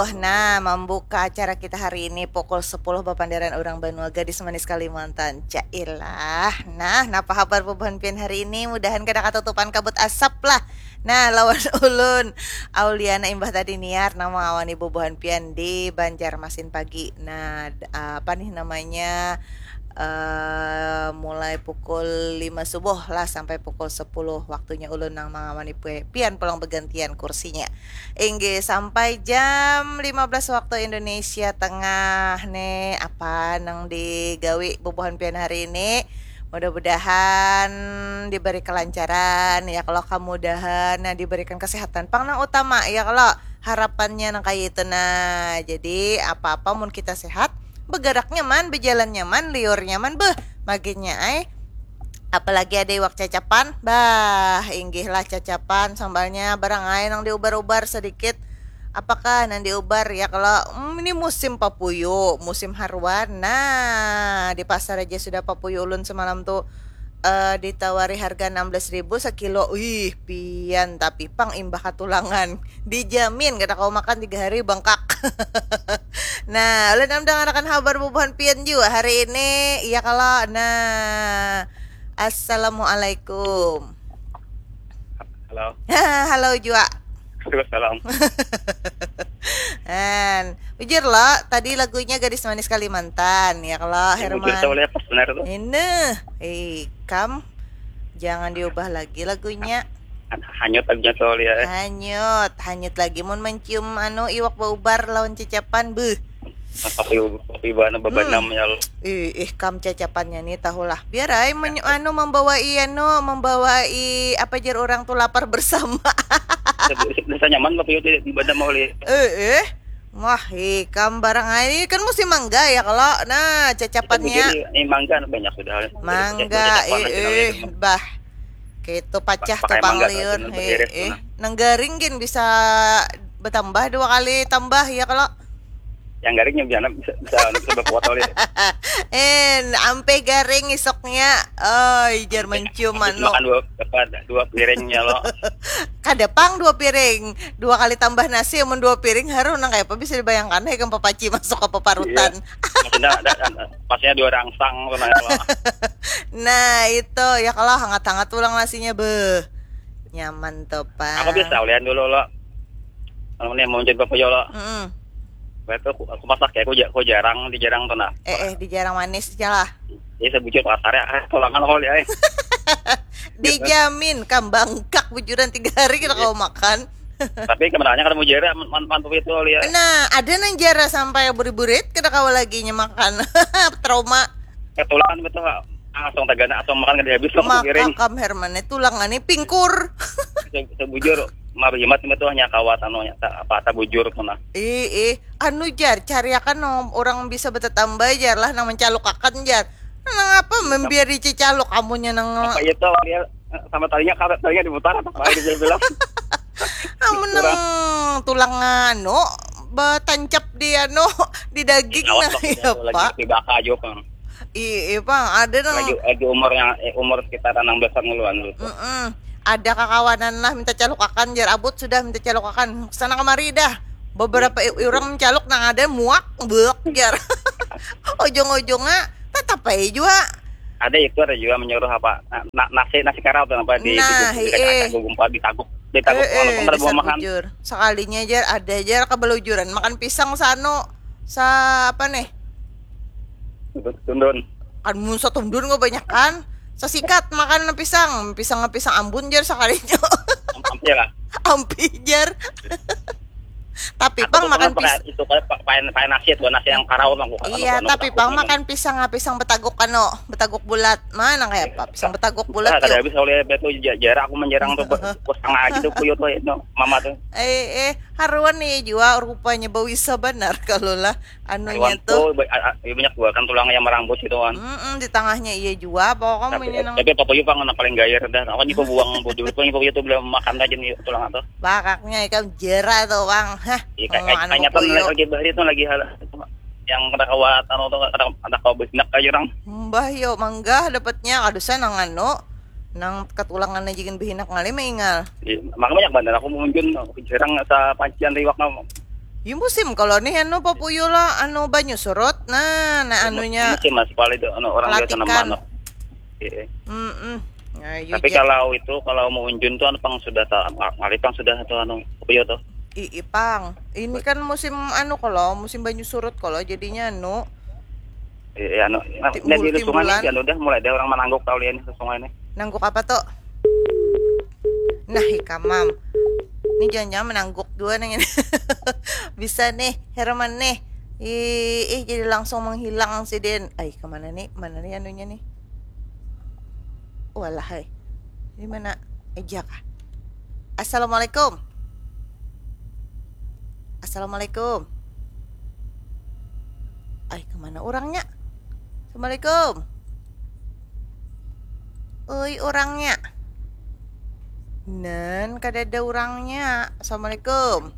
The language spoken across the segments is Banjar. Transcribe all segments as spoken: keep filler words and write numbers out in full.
Nah, membuka acara kita hari ini pukul sepuluh bapandaran urang banua gadis manis Kalimantan. Cailah. Nah, napa habar bubuhan pian hari ini? Mudahan kada katutupan kabut asap lah. Nah, lawan ulun Auliana imbah tadi niar nang mangawani bubuhan pian di Banjarmasin pagi. Nah, d- apa nih namanya? Eh, mulai pukul lima subuh lah sampai pukul sepuluh waktunya ulun nang mangawani pue- pian pulang bergantian kursinya. Inggih, sampai jam lima belas waktu Indonesia Tengah nih, apa nang digawi bubuhan pian hari ini? Mudah-mudahan diberi kelancaran ya, kalau kemudahan, nah, diberikan kesehatan pang nang utama ya, kalau harapannya nang kayak itu. Nah, jadi apa-apa mun kita sehat, bergerak nyaman, berjalan nyaman, liur nyaman, beh, maginnya ai. Apalagi ada iwak cacapan, bah, inggih lah cacapan, sambalnya barang ai nang diubar-ubar sedikit. Apakah nang diubar ya, kalau hmm, ini musim papuyu, musim haruan. Nah, di pasar aja sudah papuyu ulun semalam tuh eh, ditawari harga enam belas ribu sekilo. Wih, pian tapi pang imbah katulangan. Dijamin kada kau makan tiga hari bengkak. Nah, ulun am dangarakan habar bubuhan pian jua hari ini. Iya kalau. Nah, assalamualaikum. Halo. Halo jua. Waalaikumsalam. Han, bujur lo, tadi lagunya Gadis Manis Kalimantan, ya kalau Ini Herman. Bujur tahu lihat pas benar tuh. Ini, eh, kam, jangan diubah lagi lagunya. Han- Hanyut lagunya tuh lihat. Hanyut, hanyut lagi mun mencium anu iwak baubar lawan cacapan, beuh. Kopi kopi bahan bebanam ya lo. Ih, ih, kam cacapannya nih tahulah. Biar ai menyu- anu membawai anu, membawai apa jar orang tuh lapar bersama. Bisa nyaman kopi itu bebanam mau lihat. Eh, eh. Wah, ikam barang ai kan musim mangga ya kalau. Nah, cacapannya Ini mangga banyak sudah. mangga, eh, eh, bah. Gitu pacah Pakai tukang mangga liur. kan, Eh, beres eh. Nah. Nang garing gin bisa bertambah dua kali tambah ya kalau. Yang garing yang bisa bisa bisa berkuat oleh. En, ampe garing isoknya. Oi, jar mencium anu. Makan dua apa dua piringnya lo. Kada pang dua piring, dua kali tambah nasi, mun dua piring haru nang kaya apa bisa dibayangkan, hai kan papaci masuk ke paparutan. Maksudnya ada ada- pasnya dua rangsang tuh nah lo. Nah, itu ya kalau hangat-hangat tulang nasinya, beh, nyaman tuh pak. Aku biasa ulian dulu lo. Kalau nih mau jadi bapak lo. Mm-mm. Berarti aku, aku masak ya, aku, ja- aku jarang di jarang tuh nah. Eh, eh, di jarang manis aja lah. Jadi saya bujur pasar ya, ah, tulangan kau lihat. Dijamin kam bangkak bujuran tiga hari kita kau makan. Tapi kebenarannya kalau mau jera man- man- mantu itu lihat. Nah, ada nang jara sampai burit-burit kada kawa lagi nya makan. Trauma. Ketulangan betul langsung tagana atau makan kada habis langsung Maka piring. Kam Herman nih tulangan nih pingkur. Se- Sebujur mah hemat itu hanya kawat anu nya, ta- apa tak bujur tuh nah. Ih, ih, anu jar, cariakan no, orang bisa betetambah jar lah nang mencalukakan jar. Nang apa membiari cecaluk amunnya nang Apa itu dia sama talinya karet talinya diputar apa apa dia bilang. Amun nang tulang anu betancap di anu di daging Awas nah waktu ya itu lagi pak. Di baka aja pang. Iya, iya, Bang, ada nang Lagi lagi umurnya eh, umur sekitaran enam belas an duluan gitu. Mm-mm. Ada kakawanan lah minta calukakan jar abut sudah minta calukakan sana kemari dah. Beberapa i- orang mencaluk nang ada muak buak jar. Ujung-ujungnya tetap aja jua. Ada itu ada juga menyuruh apa na- na- nasi nasi karau tuh apa di Nah, di iya. Kacang Kacang Gumpa ditaguk ditaguk Eh, kalau eh, kemana bisa buah makan. Bujur. Sekalinya jar ada jar kebelujuran makan pisang sano sa apa nih? Tundun. Kan mun satundun nggak banyak kan. Sasikat makan pisang, pisang pisang ambun jar sekalinya. Am- Ampi lah. Ampi jar. Tapi Aku pang tuh makan pernah pakai pisang. Itu kayak pa- pakai pakai nasi itu nasi yang karau bang bukan Iya, tapi pang makan pisang ah, pisang betaguk kano, betaguk bulat. Mana kayak apa? Pisang betaguk bulat Nah, kada yuk. Habis oleh itu ja- jarak aku menjarang tuh bos setengah aja tuh kuyut tuh itu mama tuh. Eh, eh, haruan nih jua rupanya bawisa benar kalau lah anunya Hewan tuh. Tuh ba- a- a- banyak buah kan tulang yang merambut gitu kan. Mm-mm, di tengahnya iya jua pokoknya Tapi, punya nang tapi apa juga nggak paling gayar dah. Aku juga buang bodoh itu yang itu belum makan aja nih tulang atau. Bakaknya ikan jera tuh bang. Hah. Iya kayak Mangan kayaknya mau tuh kuyuk. Lagi bahari tuh lagi hal yang kada kawat anu tuh kada kada kau benak aja orang. Mbah yo mangga dapatnya kada usah nang anu nang ketulangan aja kan behinak ngalih maingal. Iya, maka banyak banget aku munjun jarang sa pancian liwak mah. Ya musim kalau nih anu papuyu lah, anu banyu surut. Nah, nah anunya Musim mas paling itu anu orang biasa Pelatikan. Nambah anu. Iya. Mm-mm. Nah, yu Tapi ja- kalau itu kalau mau unjun tuh anu pang sudah tahu, ngalih pang sudah tuh anu apa ya tuh. Ih, ipang. Ini kan musim anu kalau musim banyu surut kalau jadinya anu Iya, iya, anu. Nah, Timbul-timbulan. Di sungai ini kan udah mulai ada orang menangguk tahu lihat nih ke sungai ini. Nangguk apa tuh? Nah, ikamam. Ini jangan-jangan menangguk dua nang ini. Bisa nih, Herman nih. Ih, ih, jadi langsung menghilang si Den. Ay, kemana nih? Mana nih anunya nih? Walah, hai. Di mana? Eja kah? Assalamualaikum. Assalamualaikum. Ay, kemana orangnya? Assalamualaikum. Oi, orangnya. Nan, kada ada orangnya. Assalamualaikum.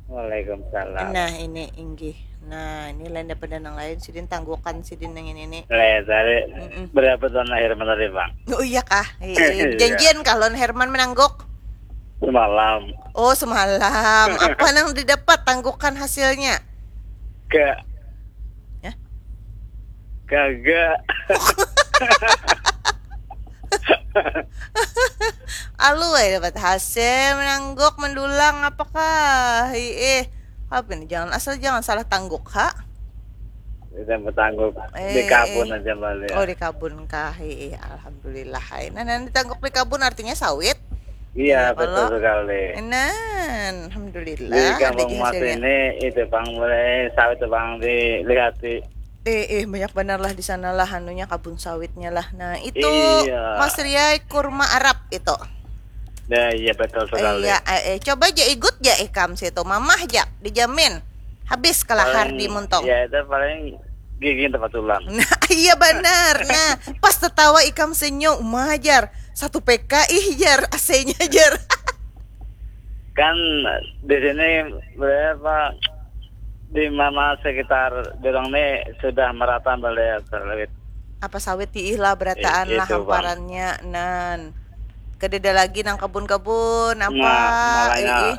Waalaikumsalam. Nah, ini inggih. Nah, ini lain daripada nang lain. Sidin tanggukan sidin yang ini nih. Leh, tadi Mm-mm. Berapa tahun lahir tadi bang? Oh iya kah? Iya. Janjian kah lawan Herman menangguk? Semalam. Oh, semalam. Apa nang didapat tanggukan hasilnya? Ke. Hah? Kagak. Alu eh dapat hasil menangguk mendulang apakah? Ih, apa ini? Jangan asal jangan salah tangguk ha. Kita bertanggup Eh, di kabun eh. Aja balik. Oh, di kabun kah? Ih, alhamdulillah. Hai. Nah, nanti tangguk di kabun artinya sawit. Iya, Iya, betul kalau- sekali. Nah, alhamdulillah. Di ada kampung je Mas hasilnya. Ini itu bang mulai sawit itu bang dilihat di. Eh, eh, banyak benar lah di sana lah anunya kabun sawitnya lah. Nah, itu Iya. Mas Riai kurma Arab itu. Ya, iya betul sekali. Iya, eh, eh, coba aja igut aja ikam situ, mamah aja, dijamin habis kelahar Paling- di muntung. Ya itu paling gigi tempat tulang. Nah, iya benar. Nah, pas tertawa ikam senyum, mah jar satu P K ih jar A C-nya jar. Kan di sini berapa di mana sekitar dorong nih sudah merata balik sawit. Apa sawit diih lah berataan I- lah itu, Bang. Hamparannya nan. Kededa lagi nang kabun-kabun apa? Nah, makanya Ih, ih.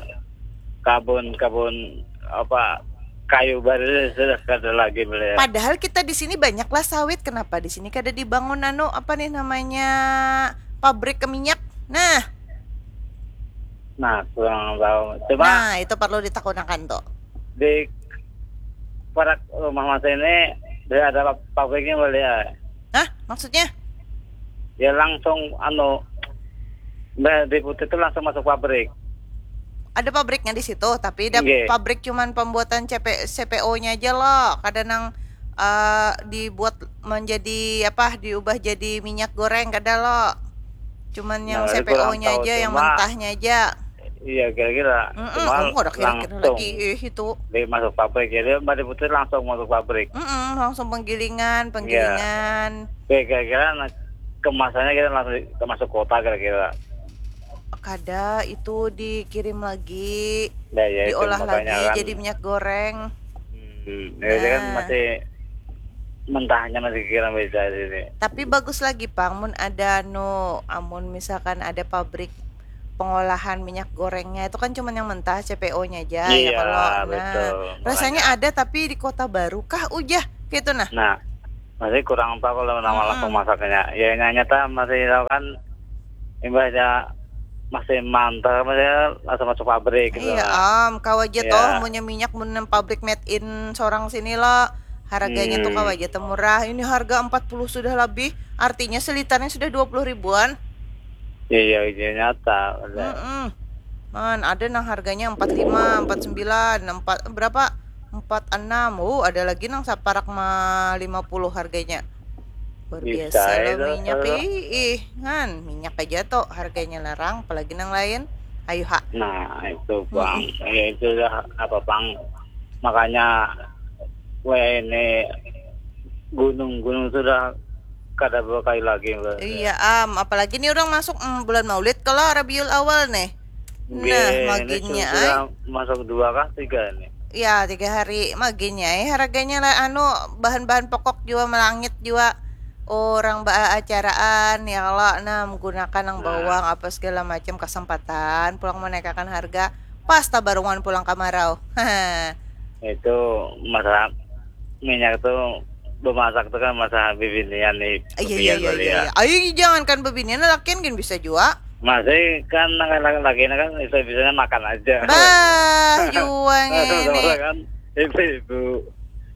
Kabun-kabun apa kayu baru sudah kada lagi beliau. Padahal kita di sini banyaklah sawit. Kenapa di sini kada dibangun anu apa nih namanya pabrik minyak? Nah, Nah, kurang tahu. Cuma nah itu perlu ditakunakan tuh. Di parak rumah Mas ini dia ada pabriknya boleh ya. Hah? Maksudnya? Ya langsung anu Mbah di Putih itu langsung masuk pabrik. Ada pabriknya di situ, tapi ada Nggih. Pabrik cuman pembuatan C P, C P O-nya aja loh. Kada nang eh, dibuat menjadi apa? Diubah jadi minyak goreng kada loh. Cuman yang Nah, C P O-nya kurang tahu, aja, yang cuma- mentahnya aja. Iya kira-kira. Mm-mm, Cuma oh, ada kira-kira langsung lagi eh, itu. Dia masuk pabrik jadi Mbah di Putih langsung masuk pabrik. Mm-mm, langsung penggilingan, penggilingan. Ya kira-kira nah, kemasannya kita langsung di- masuk kota kira-kira. Kada itu dikirim lagi, Nah, ya, itu diolah makanya lagi kan- jadi minyak goreng. Hmm, ya, dia kan Nah. Masih mentahnya masih kira beda sini. Tapi bagus lagi pang mun ada anu, amun misalkan ada pabrik pengolahan minyak gorengnya itu kan cuman yang mentah C P O-nya aja ya Iya, kalau nah betul. rasanya Makanya- ada tapi di kota baru kah ujah gitu nah. Nah, masih kurang tahu kalau nama Mm-mm. langsung masaknya. Ya yang nyata masih tahu kan imbahnya masih mantap masih langsung masuk pabrik gitu. Iya Lah. am, kawa aja Iya. toh munnya minyak mun nang pabrik made in sorang sini lo. Harganya tuh Hmm. Kawa aja tuh murah. Ini harga empat puluh sudah lebih. Artinya selitarnya sudah dua puluh ribuan. Iya, iya nyata. Ada. Mm-mm. Man, ada nang harganya empat lima, empat sembilan, empat berapa? Empat enam. Oh, ada lagi nang saparak ma lima puluh harganya. Luar Bisa biasa lo itu, minyak. kalau- Ih, ih, ngan, minyak aja tuh harganya larang, apalagi nang lain. Ayo ha. Nah, itu bang. Ya itu lah apa bang? Makanya weh ini gunung-gunung sudah kada berkayu lagi. Bang. Iya am, apalagi nih orang masuk mm, bulan Maulid kalau Rabiul Awal nih. Nah, Nggih, ini maginya sudah ay. Masuk dua kah tiga nih? Ya, tiga hari maginya ay. Harganya lah anu bahan-bahan pokok juga melangit juga. Orang ba acaraan ya kalau nah menggunakan nang Nah. Bawang apa segala macam kesempatan pulang menaikakan harga pas tabarungan pulang kamarau. Itu masalah minyak tuh, bemasak tuh kan masalah bibinian nih. Iya iya iya iya. Ayo, jangankan bibinian, lakian gin bisa jua. Masih kan, laki-laki kan bisa-bisanya makan aja. Bah, juang ini. Kan ibu-ibu.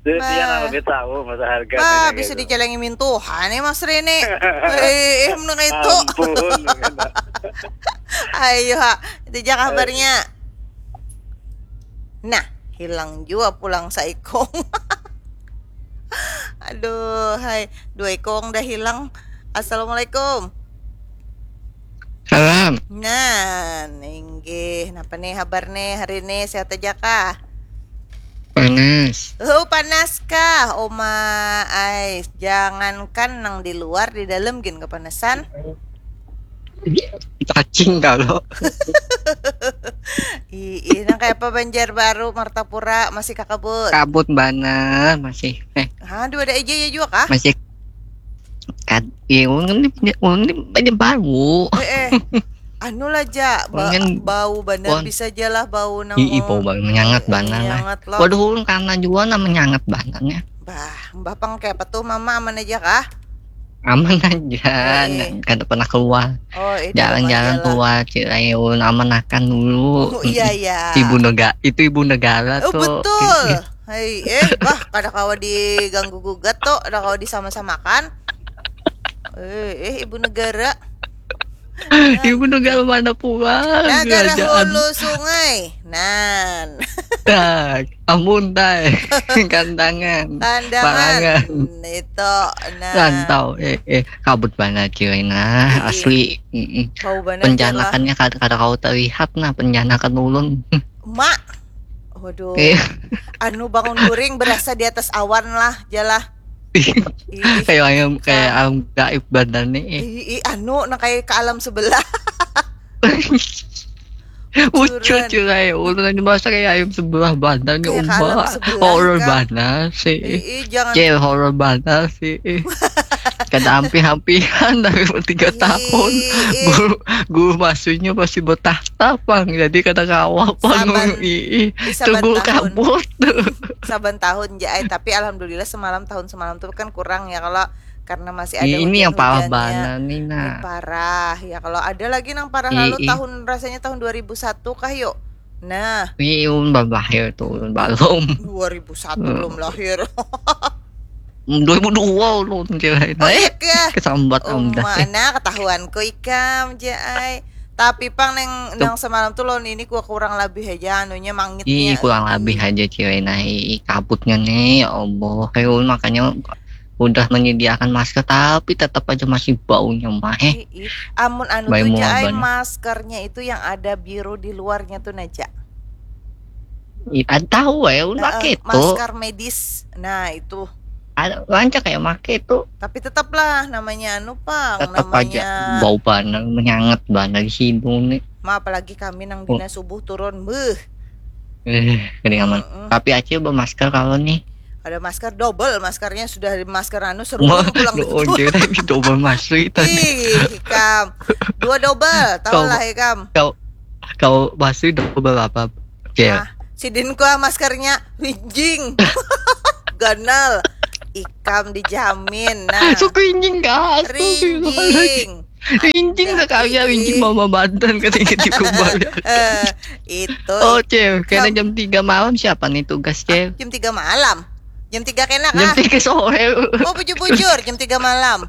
Jadi dia nang lebih tahu masa harga. Bah, bisa gitu. Dicelengi mintuhan ya Mas Rene. Eh, eh menurut itu. Ampun. Ayo ha, itu aja kabarnya. Nah, hilang juga pulang saikong. Aduh, hai, dua ikong dah hilang. Assalamualaikum. Salam. Nah, inggih. Napa nih habar nih hari ini? Sehat aja kah? Panas. Oh, panas kah? Oma ai, jangankan nang di luar, di dalam gin kepanasan. Cacing kalau. Ih, nang kayak apa Banjarbaru, Martapura masih kakabut. Kabut bana masih. Eh. Hah, dua ada aja ya juga kah? Masih Kad, iya, ulun ni, ulun ni banyak bau. Eh, eh. Anu lah ja, ba Ulun kan bau banar wan- bisa ja lah bau nang Ih, ih, bau banget, menyangat banar lah. Menyangat lah. Waduh, ulun karena jua nah menyangat banar nya. Bah, mbah pang kayak apa tuh mama aman aja kah? Aman aja, Eh. nah, kada pernah keluar. Oh, itu Jalan-jalan aman aja lah. Keluar, Cirai, ulun aman akan dulu. Oh, iya, iya. Ibu negara, itu ibu negara Oh, tuh. Betul. Hei, eh, bah, kada kawa diganggu gugat tuh, kada kawa disama-samakan. Eh, eh, ibu negara. Ibu negara mana pulang? Negara hulu sungai. Nan. Tak, amun tai. Kandangan. Kandangan. Itu. Nah. Rantau. Eh, eh, kabut banget cuy nah, asli. Penjanakannya kada kada kau terlihat nah, penjanakan ulun. Mak. Waduh. Eh. Anu bangun guring berasa di atas awan lah, jalah. Kayak ayam, kayak ayam gaib badan nih. Ih, anu, nah kayak ke alam sebelah. Ucut cuy, ulun aja merasa kayak ayam sebelah badan nih, umbak. Horor banar sih. Ih, jangan. Cil, horor banar sih. Kada ampi-ampihan dari tiga tahun. Guru, guru masuknya masih betah tapang, jadi kada kawa pang. Saban, ii, saban tunggu tahun. Kabut. Saban tahun ja ai, tapi alhamdulillah semalam, tahun semalam tuh kan kurang ya, kalau karena masih ada ini hujan, yang parah banget nih nah. Ini parah ya, kalau ada lagi nang parah ii, lalu ii. Tahun rasanya tahun dua ribu satu kah yuk. Nah. Ii, ulun belum lahir tuh, ulun belum. Dua ribu satu hmm. Belum lahir. Dua ribu dua ulun kira. Oh, iya kah? Kesambat oh, dah. Mana ketahuanku ikam, Jai. Tapi pang neng nang semalam tuh lawan ini gua kurang lebih aja anunya mangitnya. Ih, kurang lebih aja cewek nah, ih, kabutnya nih, ya Allah. Kayak ulun makanya udah menyediakan masker tapi tetap aja masih baunya mah eh. Amun anu tuh Jai, maskernya itu yang ada biru di luarnya tuh naja. Ih, ada tahu ya, ulun pakai itu. Masker medis. Nah, itu. Ada rancak kayak make itu. Tapi tetaplah namanya anu pang, tetap namanya aja bau banar, menyangat banar di hidung nih. Ma apalagi kami nang oh. Dina subuh turun, beuh. Eh, gini aman. Mm -mm. Tapi Acil bermasker kalau nih. Ada masker double, maskernya sudah masker anu seru pulang. Oh, jadi double masker itu. Ih, ikam. Dua double, tahu lah ikam. Kau kau masker double apa? Oke. Okay. Nah, sidin kua maskernya rinjing. Ganal. Ikam dijamin. Nah. Suku rinjing kah? Rinjing. Rinjing sekali ya, rinjing mama Banten ketika dikumpul. Eh, itu. Oh, Cil, kena jam tiga malam siapa nih tugas, Cil? Ah, jam tiga malam. Jam tiga kena kah? Jam tiga sore. Oh, bujur-bujur jam tiga malam.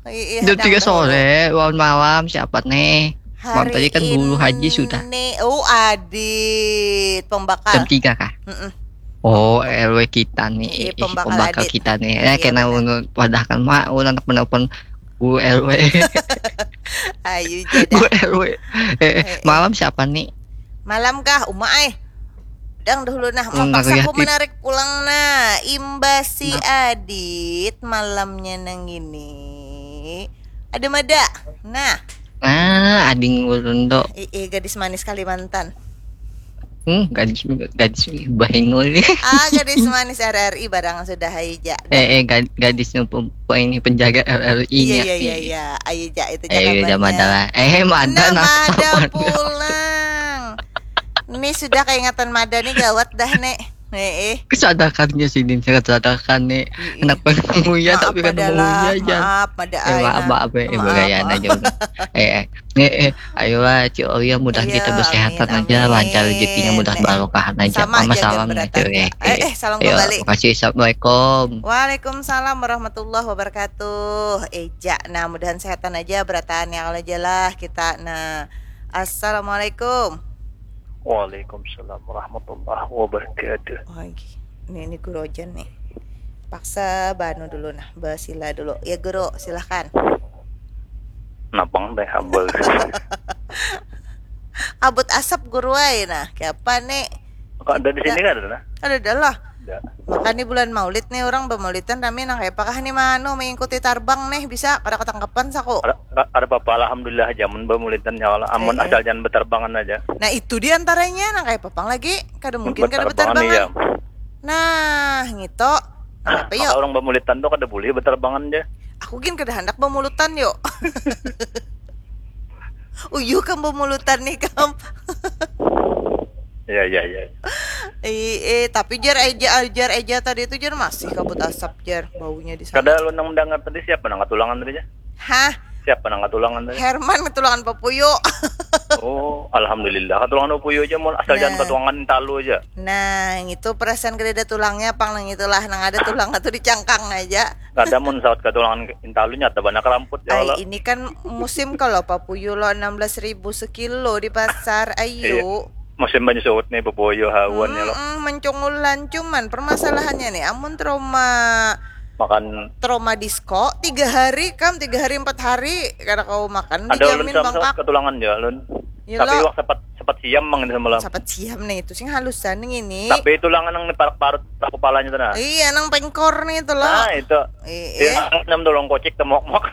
Iya, jam tiga sore, lawan malam siapa nih? Hari tadi kan guru haji sudah. Oh, adit pembakar. Jam tiga kah? Mm -mm. Oh, R W kita nih. Iya, pembakar, pembakar kita nih. Ya, iya, kena menurut padahkan mak ulun anak menelpon guru R W. Ayo jadi. Guru R W. Eh, eh, malam siapa nih? Malam kah, Uma ai? Dang dahulu nah, hmm, maksaku menarik pulang nah. Imbasi nah. Adit malamnya nang ini. Ada mada. Nah. Ah, ading ulun do. Ih, gadis manis Kalimantan. Hmm, gadis gadis bahingul. Ah, gadis manis R R I barang sudah aja. Eh, eh gad, gadis ini penjaga R R I. Iya, iya, iya, iya. Ayo ja itu ja. Eh, udah mada. Eh, mada nah, mada pulang. Ini sudah kaingatan mada nih, gawat dah nih. Eh, eh. Kesadakannya sini, kesadakan nih. Iya. Kenapa nguya Maaf tapi kan padalah, nguya aja. Maaf, mada Eh, ai, maaf, nah. maaf, eh, eh, Maaf, bagayaan maaf. aja udah. Eh, eh, eh, eh, ayo lah, Cik Olia, mudah Iya, kita bersehatan amin, aja, lancar amin. rezekinya, mudah Eh, eh. barokah aja. Sama Mama aja salam gambar aja, eh, eh, eh. eh, salam Ayo, kembali. Makasih, assalamualaikum. Waalaikumsalam warahmatullahi wabarakatuh. Eja, nah, mudahan sehatan aja, berataan ya kalau aja lah kita. Nah, assalamualaikum. Waalaikumsalam warahmatullahi wabarakatuh. Oh, ini, ini guru Ojan nih. Paksa banu dulu nah, basila dulu. Ya guru, silahkan. Napang teh hambal. Abut asap guru ai nah. Kiapa nih? Kok ada di sini kan ada nah? Ada dah lah. Ada. Makanya bulan Maulid nih orang bamaulidan rami nang kayak apakah nih manu mengikuti tarbang nih bisa kada ketangkepan saku. Ada, ada apa-apa, alhamdulillah, jaman bamulidan ya Allah. Amun Eh, eh. Asal jangan beterbangan aja. Nah itu diantaranya nang kayak papang lagi kada mungkin kada Beterbangan, beterbangan. Iya. Nah gitu. Kenapa Maka yuk? Orang bamulidan tuh kada boleh beterbangan aja. Aku gin kada handak bamulidan yuk. Uyuh kam bamulidan nih kam. Ya, ya, ya. Eh, eh, tapi jar aja, jar aja tadi itu jar masih kabut asap jar baunya di sana. Kada lu nang mendengar tadi siapa nang katulangan tadi ya? Hah? Siapa nang katulangan tadi? Herman ketulangan papuyu. Oh, alhamdulillah katulangan papuyu aja, mun asal Nah. Jangan katulangan intalu aja. Nah, itu perasaan kada ada tulangnya pang nang itulah nang ada tulang itu di cangkang aja. Kada mun sawat katulangan intalu nyata banyak ramput ya Ay, Allah. Ini kan musim kalau papuyu lo enam belas ribu sekilo di pasar. Ayo. Musim banyu suhut nih, beboyo hawan ya lo. Mm-mm, mencongulan cuman permasalahannya nih amun trauma Makan trauma disco tiga hari kam tiga hari empat hari kada kau makan ada ulun dijamin sama bangkak. Katulangan ya ulun. Ya Tapi lo. Wak sempat sempat siam mang ini semalam. Sapat siam nih itu sing halusan nih ini. Tapi tulangan yang parak parut kepalanya tuh nah. Iya nang pengkor nih itu lo. Nah itu. Iya. Ya, enam tolong kocek temok mok.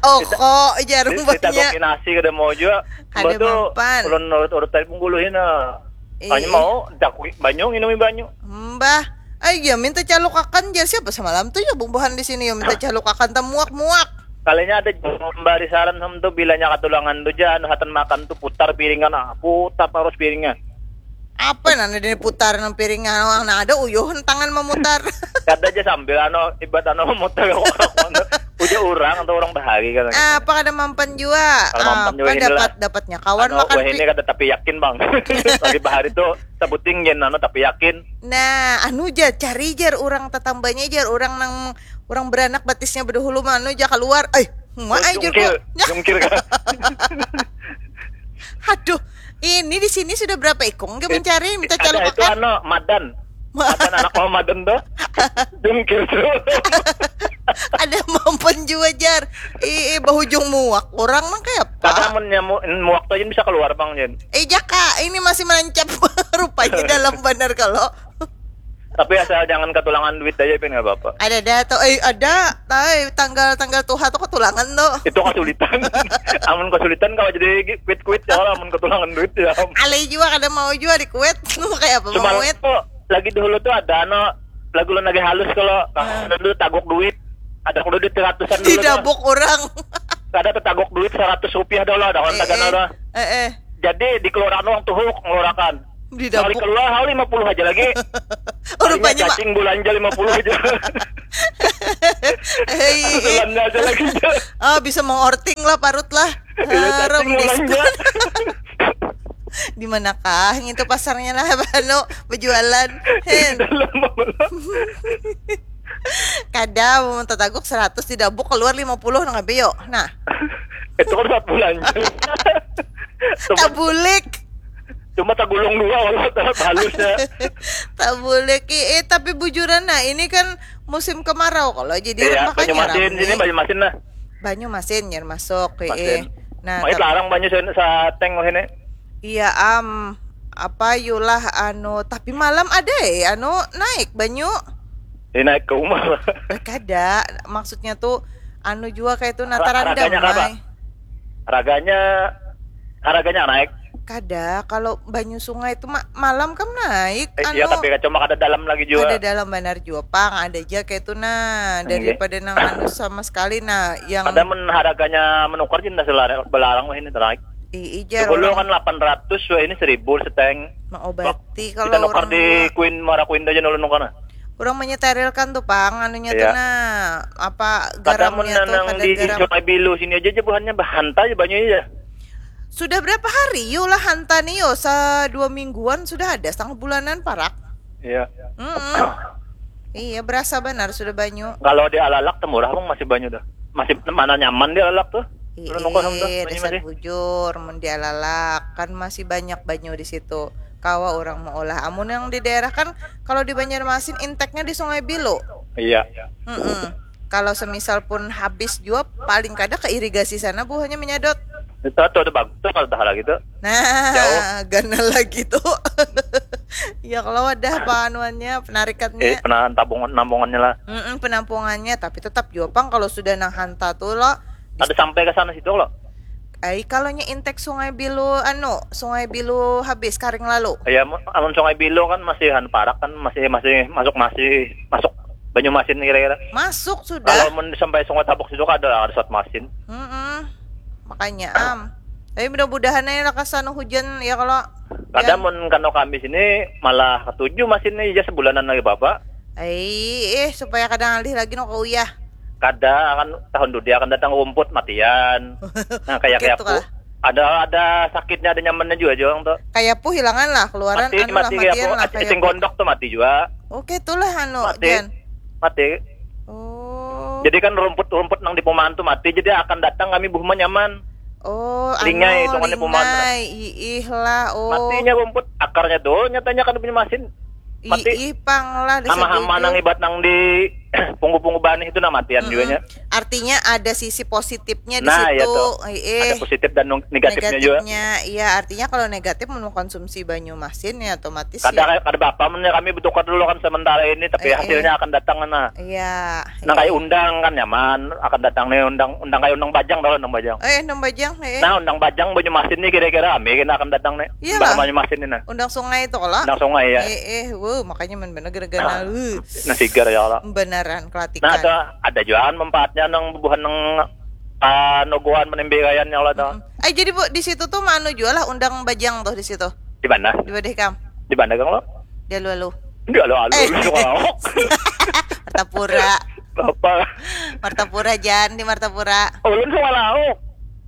Oh kok jarum banyak. Ditagokin nasi kada mau juga. Kada Mbah tuh mampan. Ulun urut-urut tadi pengguluhin nah. Iya. Hanya mau takui banyu, nginumi banyu. Mbah, ayo minta calukakan jar siapa semalam tuh ya bumbuhan di sini ya minta calukakan tamuak-muak. Kalinya ada membari saran ham tuh bilanya katulangan tuh ja anu hatan makan tuh putar piringan ah putar terus piringan. Apa nana dini putar nang piringan orang nah ada uyuh tangan memutar. Kada aja sambil anu ibat anu memutar kok anu. Uja orang atau orang bahari kan. Apa kada mampan jua? Kada mampan jua Apa inilah. Dapat dapatnya kawan Anu makan wah ini pi- kada tapi yakin bang. Lagi bahari tuh sebuting jen anu tapi yakin. Nah, anu ja cari jar orang tetambanya jar orang nang orang beranak batisnya bedahulu mah anu ja keluar. Eh, ma ai jar Jungkir, ku. jungkir kan. Aduh, ini di sini sudah berapa ikung ke mencari minta Ada itu calukakan. Anu madan. Madan anak mau madan tuh. Jungkir tuh. Ada mampan jua jar. Ih, ih, bahujung muak orang nang kayak Kada apa? Mun nyamu muak tuh aja bisa keluar bang jen. Eh jaka, ini masih menancap rupanya dalam benar kalau. Tapi asal jangan ketulangan duit aja pin nggak apa-apa. Ada ada tuh, eh ada, tapi tanggal tanggal tuha tuh ketulangan tuh. Itu kesulitan. Amun kesulitan kalau jadi quit quit ya kalau amun ketulangan duit ya. Alay jua kada mau jua di kuet. Kayak apa Cuma mau kuet? Tuh, lagi dahulu tuh ada anu lagu lu lagi halus kalau dulu taguk duit ada kalau duit seratusan dulu tuh. Didabuk orang. Kada tetaguk duit seratus rupiah dulu ada Eh, kontakan eh, ada. eh, eh. Jadi dikeluaran orang tuh ngeluarkan. Sekali Didabuk. Keluar hal lima puluh aja lagi. Oh, rupanya Pak. Cacing belanja lima puluh aja. Hei, Belanja aja lagi. oh bisa mengorting lah parut lah. Iya, Haram cacing belanja. diskon. Di manakah itu pasarnya lah anu berjualan. Hen. Dalam apa? Kada mau tetaguk seratus didabuk keluar lima puluh nang kabeyo. Nah, Itu kan saat belanja. Cuma, tabulik. Cuma tagulung dua kalau tetap halusnya. Tabulik. Eh, tapi bujuran nah ini kan musim kemarau kalau jadi Iya, makanya Banyumasin rame. Sini Banyumasin lah. Banyumasin ya masuk. Eh. Masin. Nah, Mait tap- larang banyu sen- sateng wah ini. Iya am apa yulah anu tapi malam ada eh anu naik banyu. Ini naik ke rumah. Eh, kada maksudnya tuh anu jua kayak itu nah Har- tarandam harganya berapa? Mai. Harganya harganya naik. Kada kalau banyu sungai itu ma- malam kan naik Eh, anu iya tapi cuma kada dalam lagi juga. Ada dalam benar jua pang ada aja kayak itu nah Iya. Daripada nang anu sama sekali nah yang Ada men harganya menukar jadi nasi larang belarang wah ini teraik. Ii, jar. Dahulu kan lapan ratus, wah, ini seribu seteng. Mengobati. Wak, kalau kita nukar orang di Queen, Muara Queen aja dulu nukar, nah. Orang menyeterilkan tuh, Pang, anunya tuh, iya, nah, apa, garamnya tuh, kadar garam. Kada mun nang di Sungai Bilu sini aja, aja buhannya bahanta aja banyu aja. Sudah berapa hari yo lah hanta nih yo? Sa dua mingguan sudah ada, setengah bulanan parak. Iya. Mm-mm. Iya, berasa banar sudah banyu. Kalau di Alalak temurah pang masih banyu dah. Masih mana nyaman di Alalak tuh? Ih, dasar bujur, mun di Alalak kan masih banyak banyu di situ. Kawa orang mau olah. Amun yang di daerah kan, kalau di Banjarmasin inteknya di Sungai Bilu. Iya. Mm-mm. Kalau semisal pun habis jua, paling kada ke irigasi sana buhannya menyadot. Itu tuh, tuh bagus tuh kalau tahala gitu. Nah, jauh. Ganal lagi tuh. Ya kalau wadah apa anuannya, penarikatnya. Eh, penahan tabungan, nambungannya lah. Mm-mm, penampungannya, tapi tetap jua pang kalau sudah nang hanta tuh lo. Ada sampai ke sana situ lo. Ai, kalau nya intek Sungai Bilu, anu, Sungai Bilu habis karing lalu. Ya, amun Sungai Bilu kan masih han parak kan, masih, masih masuk, masih masuk Banyu Masin kira-kira. Masuk sudah. Kalau mun sampai Sungai Tabuk situ kada lah, ada Selat Masin. Mm-mm. Makanya am. Tapi mudah-mudahan aja lah kasana hujan ya kalau. Kada, mun kanu kami sini malah ketujuh masin nih, ya sebulanan lagi bapak. Ai, eh, supaya kada ngalih lagi no ke uyah. Kada, kan tahun dudi akan datang rumput matian. Nah, kayak, kayak aku. Ada, ada sakitnya, ada nyamannya juga, Jong, tuh. Kayak pu hilangan lah, keluaran mati, anu lah, mati, kayak matian lah, kayak sing gondok tuh mati juga. Oke, itulah anu, mati. Jan. Mati. Oh. Jadi kan rumput-rumput nang di perumahan tuh mati, jadi akan datang kami buhuma nyaman. Oh, lingai anu, itu kan di perumahan tuh. Lingai, iih lah, oh. Matinya rumput, akarnya tuh, nyatanya kan punya masin. Mati. Iih, pang lah, hama-hama nang ibat nang di punggu-punggu banih itu nah matian juga nya. Artinya ada sisi positifnya di situ. Nah, iya tuh. Iih. Ada positif dan nung-, negatifnya juga. Negatifnya, iya, artinya kalau negatif mengkonsumsi banyu masin ya otomatis kada ya. Kada apa-apa, mun kami bertukar dulu kan sementara ini, tapi hasilnya akan datang nah. Iya. Nang kayak undang kan nyaman, akan datang nih undang, undang kayak undang bajang, tahu undang bajang? Eh, undang bajang, eh. Nah, undang bajang banyu masin nih kira-kira ami kena akan datang nih. Iya lah. Banyu masin nih nah. Undang sungai itu kalau? Undang sungai ya. Eh, eh, wuh, makanya men bener gara-gara nah, wuh. Nah, sigar ya Allah. Beneran kelatikan. Nah, ada, ada juga kan manfaatnya nang bubuhan nang, ah, nogoan menembekayan ya Allah tuh. Mm-mm. Eh, jadi Bu, di situ tuh manu jual lah undang bajang tuh di situ. Di mana? Di Badeh Kam. Di mana, Kang, lo? Di alu-alu. Di alu-alu, eh. Lu suka lauk. Martapura. Apa? Martapura, Jan, di Martapura. Oh, lu suka lauk.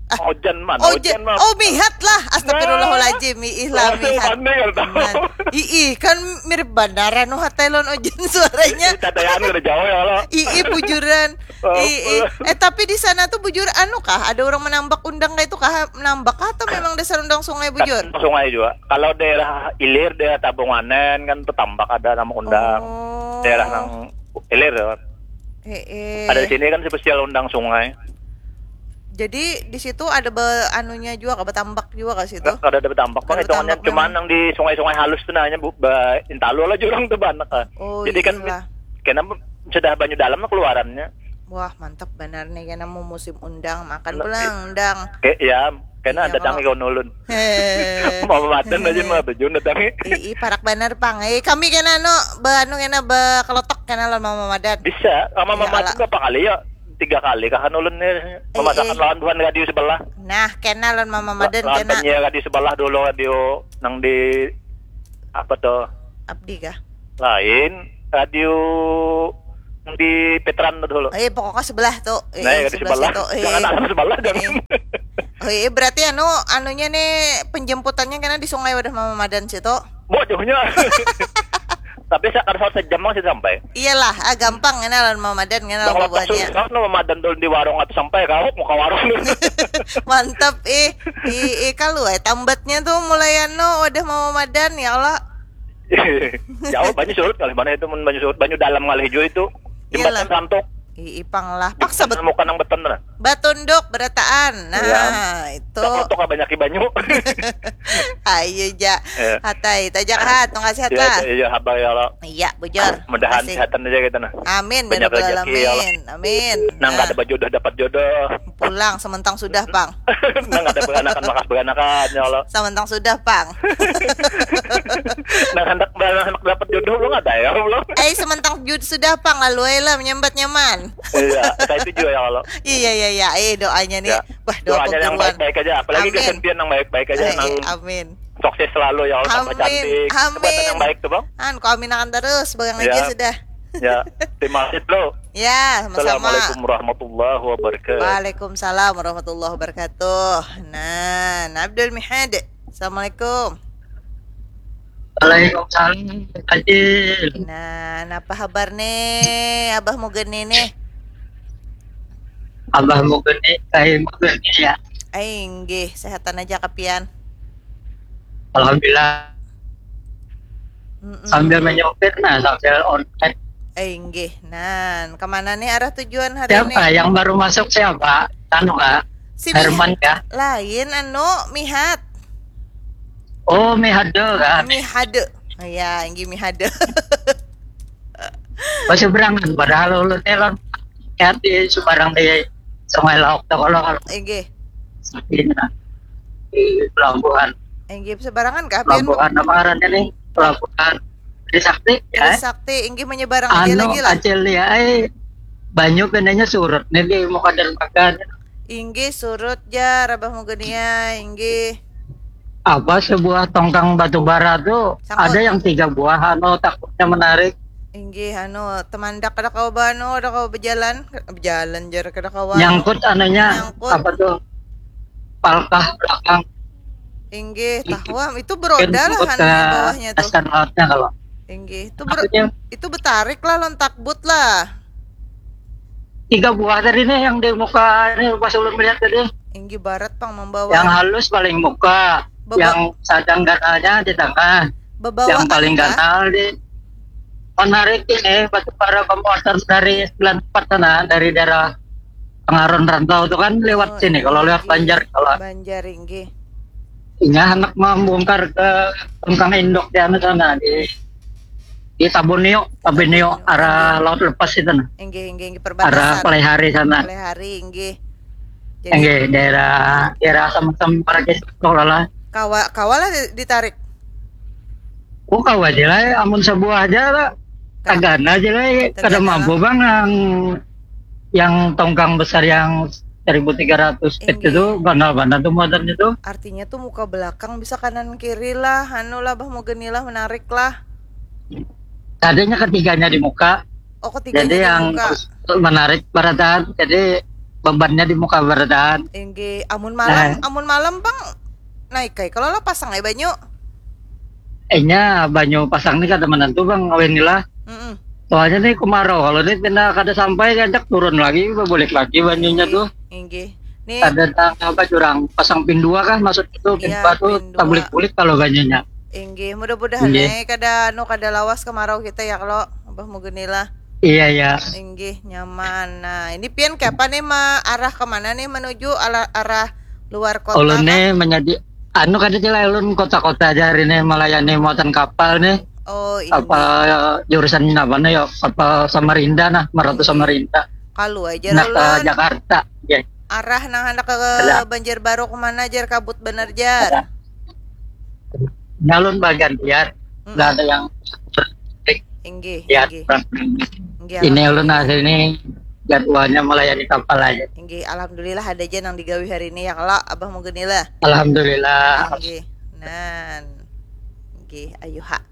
Ah. Ojan mana? Ojan. Ojan mah. Oh, mihat lah. Astagfirullahaladzim. Iih lah, mihat. Nah. Iih, kan mirip bandaran. Wah, Thailand ojan suaranya. Tadayaan kada jauh ya, lo. Iih, bujuran. Ih, ih. Eh, tapi di sana tuh bujur anu kah? Ada orang menambak undang kayak itu kah? Menambak kah atau memang dasar undang sungai bujur? Sungai juga. Kalau daerah ilir, daerah Tabung Anen kan tuh tambak ada nama undang. Oh. Daerah nang ilir ya kan. Eh, eh. Ada di sini kan spesial undang sungai. Jadi di situ ada be anunya juga kah, betambak juga kah situ? Kada ada betambak, bang, hitungannya cuman yang di sungai-sungai halus tuh nanya bu, be, intalu lah jurang tuh banyak kah. Oh, jadi kan kena sudah banyu dalam lah keluarannya. Wah, mantap banar nih, kena mau musim undang, makan pulang undang. Kayak ya, kena datang ke ulun. Mau madan aja mah tujuan datangnya. Ih, parak banar pang. Eh, kami kena anu, be anu kena bekelotok kena lawan Mama Madan. Bisa, Mama Madan berapa kali ya? Tiga kali kah anu ulun nih memasakan lawan buhan radio sebelah. Nah, kena lawan Mama Madan kena. Lawan penyiar radio sebelah dulu, radio nang di apa tuh? Abdi kah? Lain, radio di Petran tuh dulu. Eh, pokoknya sebelah tuh. Eh, nah, ya, di sebelah situ. Jangan asal sebelah, jangan. Oh, iya, berarti anu, anunya nih, penjemputannya kena di Sungai Wadah Mama Madan situ. Bodohnya. Tapi sakar saat sejam masih sampai. Iyalah, ah, gampang kena lawan Mama Madan kena lawan bubuhannya. Kalau Mama Madan tuh di warung atau sampai kau muka warung. Mantap, eh. Eh, eh, kalau eh, tambatnya tuh mulai anu, Wadah Mama Madan, ya Allah. Jauh banyu surut kali mana itu, mun banyu surut, banyu dalam ngalih jua itu. Jembatan santuk. Ih, ipang lah. Paksa bet-, muka nang beton lah. Batunduk berataan. Nah, itu. Cak lotok banyak banyu. Ayo ja. Hatai, tajak hat, tunggal sehat lah. Iya, habar ya Allah. Iya, bujur. Mudahan kesehatan aja kita nah. Amin. Banyak rezeki ya Allah. Amin. Nang kada bajodoh dapat jodoh. Pulang sementang sudah pang. Nang kada beranakan makas beranakan ya Allah. Sementang sudah pang. Nang hendak beranakan dapat jodoh belum ada ya belum. Eh, sementang jud sudah pang, lalu aja lah menyambat nyaman. Iya, kayak itu juga ya kalau. Iya iya iya, eh doanya nih. Ya. Wah, doa Doanya yang pengguruan. Baik-baik aja, apalagi Amin. Kasian Pian yang baik-baik aja, Eh, nang eh, amin. Sukses selalu ya Allah, tambah Amin. Cantik, Amin. Tempatan yang baik tuh, Bang. An, kau aminakan terus, bagang Ya. Aja sudah. Ya, terima kasih dulu. Ya, sama-sama. Assalamualaikum warahmatullahi wabarakatuh. Waalaikumsalam warahmatullahi wabarakatuh. Nah, Abdul Mihad. Assalamualaikum. Waalaikumsalam, Acil. Nah, apa kabar nih, Abah Mugeni nih? Abah Mugeni, kayak Mugeni ya. Ai, inggih, sehatan aja kapian. Alhamdulillah. Mm-mm. Sambil menyopir, nah, sambil online. Eh, inggih. Nah, kemana nih arah tujuan hari Siapa ini? Yang baru masuk siapa? Anu kah? Si Herman Mih- kah? Lain anu, Mihat. Oh, Mihado kan? Mihade. Oh ya, inggih Mihade. Pas seberangan, padahal ulun elon. Ya, di seberang di Sungai Lauk tuh kalau kalau Inggih. di, di pelabuhan. Inggih sebarangan kah, Pian? Pelabuhan apa ngarannya nih? Pelabuhan Trisakti ya. Trisakti, inggih menyebarang aja Anu, lagi lah. Acil ya, eh, banyu kenanya surut nih di muka dermaga. Inggih surut jar, Abah Mugeni ya, inggih. Apa sebuah tongkang batu bara tuh Sangkut. Ada yang tiga buah, anu, takutnya menarik. Inggih anu, temandak kada kawa ba-, anu, kada kawa berjalan, berjalan jar, kada kawa. Nyangkut anunya, Nyangkut. Apa tuh? Palkah belakang. Inggih, tahuam itu beroda lah Nyangkut anu ke di bawahnya tuh. Dasar lautnya kalau. Inggih, itu ber- Maksudnya itu betarik lah lawan takbut lah. Tiga buah tadi nih yang di muka nih pas ulun melihat tadi. Inggih barat pang membawa. Yang halus paling muka, Beba- yang sedang ganalnya di tengah, Bebawa yang paling anu kah? Ganal di menarik ini batu bara pemotor dari sembilan empat sana, dari daerah Pengaron Rantau tuh kan lewat Oh, sini kalau lewat inggih. Banjar kalau Banjar inggih. Inya anak membongkar ke tongkang induk di anu sana di di Tabunio, Tabunio arah Laut Lepas itu nah. Inggih, inggih, inggih, Arah perbatasan. Palihari sana. Palihari inggih. Jadi Inggih, daerah daerah sama-sama para sekolah lah. Kawa kawa lah di- ditarik. Oh, kawa aja lah, amun sebuah aja lah. Tagana aja lah, kada Tagana mampu bang yang yang tongkang besar yang seribu tiga ratus feet Inggih. Itu ganal banget tuh muatannya tuh. Artinya tuh muka belakang bisa kanan kiri lah, anu lah, Bah Mugeni lah, menarik lah. Adanya ketiganya di muka. Oh, ketiganya Jadi di yang muka. Menarik barataan. Jadi bebannya di muka barataan. Inggih, amun malam, Nah. Amun malam bang naik kai kalau lah pasang ai banyu. Inya banyu pasang nih kada menentu bang, awin lah. Mm-mm. Soalnya nih kemarau, kalau nih pina kada sampai, ajak turun lagi, balik lagi banyunya tuh. Inggih. Nih, Ada tang apa jurang pasang pin dua kah maksud itu, pin Iya, dua tuh pin dua. Tabulik-bulik kalau banyunya. Inggih, mudah-mudahan Inggih. Ai kada anu kada lawas kemarau kita ya kalau Abah Mugeni lah. Iya ya. Inggih, nyaman. Nah, ini pian kapan nih ma arah kemana nih menuju ala- arah luar kota Ulun kah? Nih menjadi anu kada sih lah, ulun kota-kota aja hari ini melayani muatan kapal nih. Oh, inggih. Apa jurusan apa nih ya? Apa Samarinda nah, Meratu Samarinda. Kalu aja Nah ke ulun. Jakarta. Ya. Arah nang hendak ke Ada. Banjarbaru kemana jar kabut bener jar. Nyalun bagantian. Mm-mm. Nggak ada yang Inggih, ya. inggih. Inggih, Ini ulun alhamdulillah. Hari ini jadwalnya melayani kapal aja. Inggih, alhamdulillah ada aja nang digawi hari ini ya kalau Abah Mugeni lah. Alhamdulillah. Inggih. Nan. Inggih, ayu ha.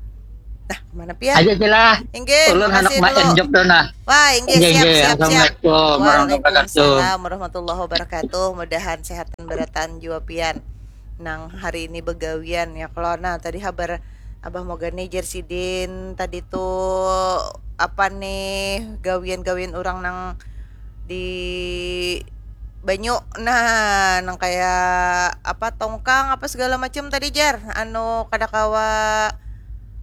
Nah, kemana pian? Aja sih lah. Inggih, Ulun makasih anak main dulu. job dulu nah. Wah, inggih, Inggih, siap, inggih. siap, siap. Assalamualaikum warahmatullahi wabarakatuh. Waalaikumsalam warahmatullahi wabarakatuh. Mudahan sehat dan beratan jua pian nang hari ini begawian ya kalau. Nah, tadi habar Abah Mugeni jar sidin tadi tuh apa nih gawian-gawian orang nang di banyu. Nah, nang kaya apa tongkang apa segala macam tadi jar anu kada kawa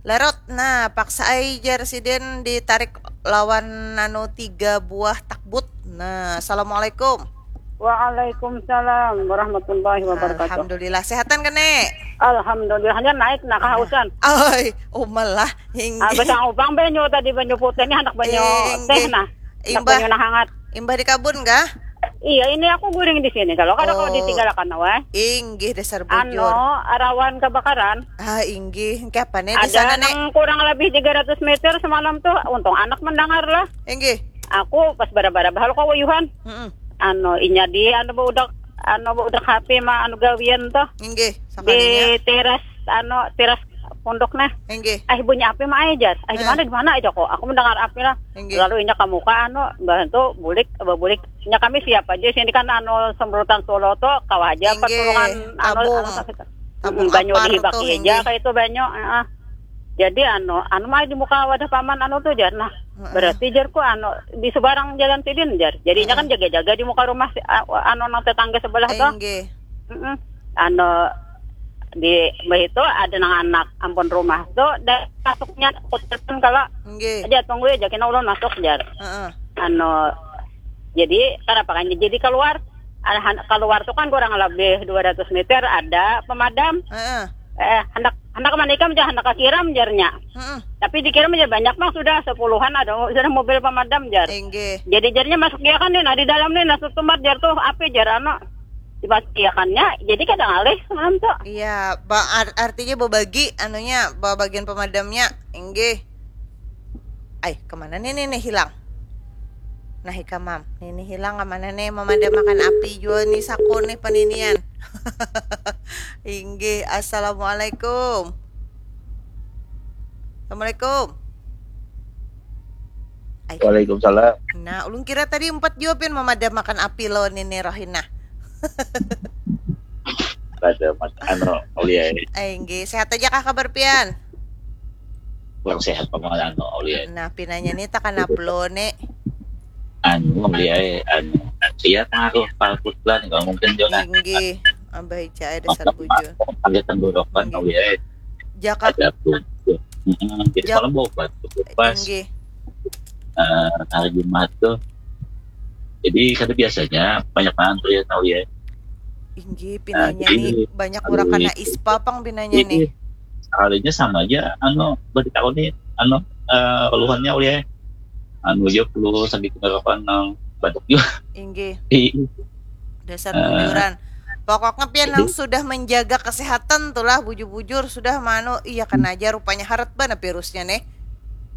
larut. Nah, paksa ai jar sidin ditarik lawan anu tiga buah takbut. Nah, assalamualaikum. Waalaikumsalam warahmatullahi wabarakatuh. Alhamdulillah, sehatan kene? Alhamdulillah, hanya naik nah kahausan. Oi, umalah. Inggih. Habis yang ubang banyu tadi, banyu putih, ini anak banyu Inggih. Teh nah. Anak Imbah. Banyu nah hangat. Imbah di kabun kah? Iya, ini aku guring di sini. Kalau kada kau Oh. Ditinggalakan weh. Inggih, dasar Anu, bujur. Arawan kebakaran. Ah, inggih. Engke apa nih di Ada sana nih? Nang kurang lebih tiga ratus meter semalam tuh. Untung anak mendengar lah. Inggih. aku pas bara-bara bahal kau wayuhan. Mm-mm. Anu inya di anu baudak anu baudak H P mah anu gawian tuh Inggih, di sakalinya. teras anu teras pondok nah. Inggih. Eh bunyi api mah aja jar. Eh di Eh. mana di mana aja kok. Aku mendengar api lah. Inggih. Lalu inya kamuka anu bantu bulik bulik. Inya kami siap aja sini kan anu semrutan Solo tuh kawa aja Inggih, pertulungan anu tabung. anu sakit. Tabung Mm, banyu apar dihibaki tuh, aja inggih. Kayak itu banyu. Heeh. Jadi anu anu mah di muka wadah paman anu tuh jar nah. Heeh. Berarti jarku anu di sebarang jalan sidin jar. Jadinya kan Heeh. jaga-jaga di muka rumah si, a- anu nang tetangga sebelah tuh. Inggih. Mm-mm. Anu di mbah itu ada nang anak ampun rumah tuh dan masuknya kutelepon kalau Inggih. Aja tunggu ya jakin ulun masuk jar. Heeh. Anu jadi kenapa kan jadi keluar Alhan- keluar tuh kan kurang lebih dua ratus meter ada pemadam. Heeh. Eh hendak hendak manikam jar hendak kakiram jarnya. Heeh. Tapi dikirim aja banyak bang sudah sepuluhan ada sudah mobil pemadam jar. Inggih. Jadi jarnya masuk dia kan nih nah di dalam nih nah tutumat jar tuh apa jar anu dimasukiakannya jadi kada ngalih semalam tuh. Iya, ba- ar- artinya berbagi anunya, ba- bagian pemadamnya. Inggih. Ai, kemana nih nih, nih hilang? Nah, ikam mam, nih nih hilang kemana nih? Memadamakan api jua nih saku nih peninian. Inggih, assalamualaikum. Assalamualaikum. Ai, Waalaikumsalam. Nah, ulun kira tadi empat jua pian memadamakan api lawan nini Rohina. Pada mas anu mulia ini. Ai, inggih, sehat aja kah kabar pian? Kurang sehat paman anu mulia. Nah, pinanya nih takana pelo nih. Anu mulia anu iya pengaruh palput lah nih kalau mungkin juga Inggih, abah ica ada satu bujur. Ada tenggorokan Inggih. Mulia. Jaka Ada tuh. Heeh, jadi Jak- malam obat pas inggih. eh, hari Jumat tuh. Jadi kada biasanya banyak banget tuh ya tahu ya. Inggih, Nah, pinanya jadi nih banyak orang kena ispa pang pinanya nih. Jadi sekalinya sama aja anu berita aku nih anu eh, keluhannya oleh anu aja perlu sakit tenggorokan nang batuk juga. Inggih, Iya. Dasar Eh. bujuran. Pokoknya pian Jadi- nang sudah menjaga kesehatan tuh lah bujur-bujur sudah manu iya kena aja rupanya harat bana virusnya nih.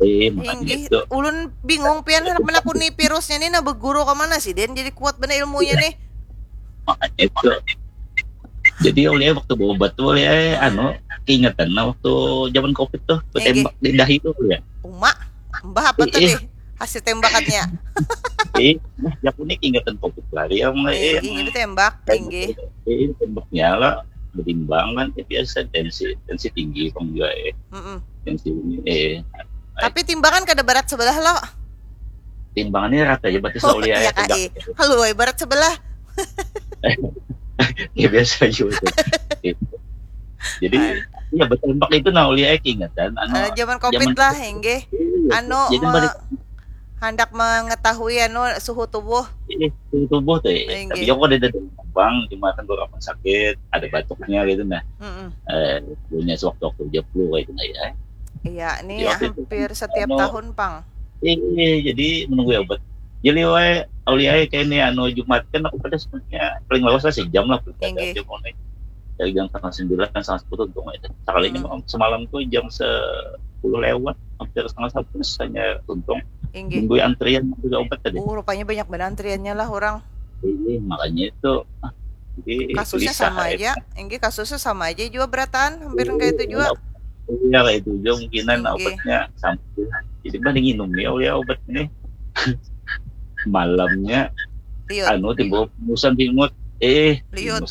Eh, makanya Inggih, itu. Ulun bingung pian hendak menakuni virusnya nih nah beguru ke mana sih dan jadi kuat bana ilmunya nih. Makanya itu. Jadi oleh waktu berobat tuh oleh anu keingetan nah waktu zaman covid tuh Inggih. Tembak di dahi tuh ya. Uma, mbah apa Ih, tadi ih. Hasil tembakannya? Eh, aku nih keingetan covid lari yang Eh, eh, inggih tembak, inggih. Eh, tembaknya lah berimbang kan ya, biasa tensi tensi tinggi kan juga eh Mm-mm. tensi ini eh Tapi timbangan kada berat sebelah lo. Timbangannya rata ya berarti Oh, oleh iya kak, eh. Kalau berat sebelah. Ya biasa juga tuh. Gitu. Jadi ya bertembak itu nah oleh eh keingetan anu Eh, zaman covid zaman lah, inggih. Iya, Anu jadi me- balik Hendak mengetahui anu suhu tubuh. ini suhu tubuh tuh ya. Inggih. Tapi aku ada dari bang jumatan gue akan sakit, ada batuknya gitu nah. Mm-mm. Eh, punya sewaktu-waktu aja flu kayak gitu nah ya. Iya, ini Iya, waktu itu hampir kan setiap anu- tahun pang. Ini jadi menunggu ya obat. Jadi wae auliae kayak ini anu Jumat kan aku pada sebenarnya paling lawas lah sejam lah paling Inggih. Jam oke. Dari jam setengah sembilan setengah sepuluh untung itu. Sekali ini Hmm. semalam tuh jam sepuluh lewat hampir setengah satu hanya untung Inggih. nunggu antrian juga obat tadi. Uh, rupanya banyak banget antriannya lah orang. Iya, makanya itu. Ah, jadi Kasusnya gelisah, sama ya. Aja. Inggih kasusnya sama aja juga berataan, hampir kayak itu juga. Iya, kayak itu juga mungkinan Inggih. Obatnya sama. Jadi mending minum ya, ya obat ini. Malamnya Liut. Anu timbul musan bingut. Eh, Liut. Bingus